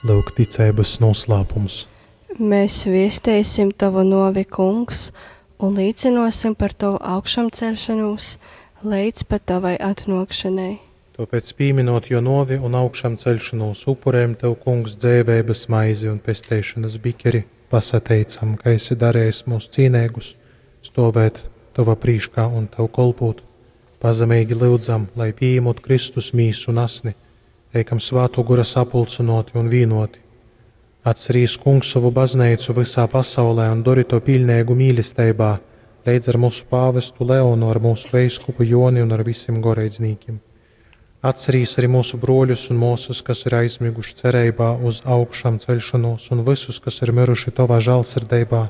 Lyuk ticeibys nūslāpums. Mēs viesteisim Tavu nuovi, Kungs, un līcynuosim par Tovu augšamceļšonūs leidz pat Tovai atnuokšonai. Tōpēc, pīminot jō nōvi un augšamceļšonūs, upurējam Tev, Kungs, dzeiveibas maizi un pesteišonas bikeri, pasateicam, ka esi darējis mūs cīneigus stōvēt Tova prīškā un Tev kolpūt. Pazemeigi lyudzam, lai pīejamot Kristus mīsu un asni, teikam Svātō Gora sapulcynōti un vīnōti. Atcerīs, Kungs, sovu bazneicu vysā pasaulē un dori to piļneigu mīlesteibā, leidz ar mūsu pāvestu Leonu, ar mūsu veiskupu Joni un ar visim goreidznīkim. Atcerīs arī mūsu bruoļus un muosas, kas ir aizmiguši cereibā uz augšām ceļšanos, un visus, kas ir miruši Tovā žālsirdeibā.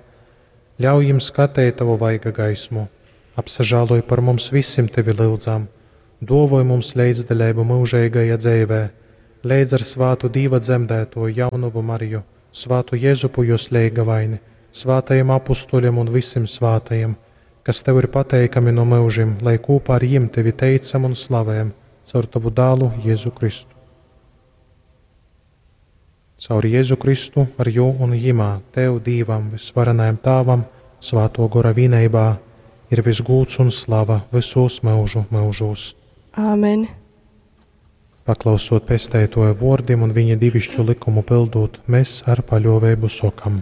Ļauj jim skateit Tavu vaiga gaismu. Apsažāloj par mums visim Tevi lyudzam. Duovoj mums leidzdaļeibu myužeigajā dzeivē, leidz ar svātu Dīva dzemdētoju jaunovu Mariju, svātu Jezupu jos leigavaini, svātajiem apustuļiem un visim svātajiem, kas Tev ir pateikami no myužim, lai kūpā ar jim Tevi teicam un slavējam caur Tavu dālu Jēzu Kristu. Caur Jēzu Kristu, ar jū un jimā, Tev, Dīvam, visvarenajam Tāvam, Svāto Gora vīneibā, ir visgūds un slava visos myužu myužūs. Āmen. Paklausot pesteitoja vōrdim un viņa divišķu likumu pildūt, mēs ar paļōveibu sokam.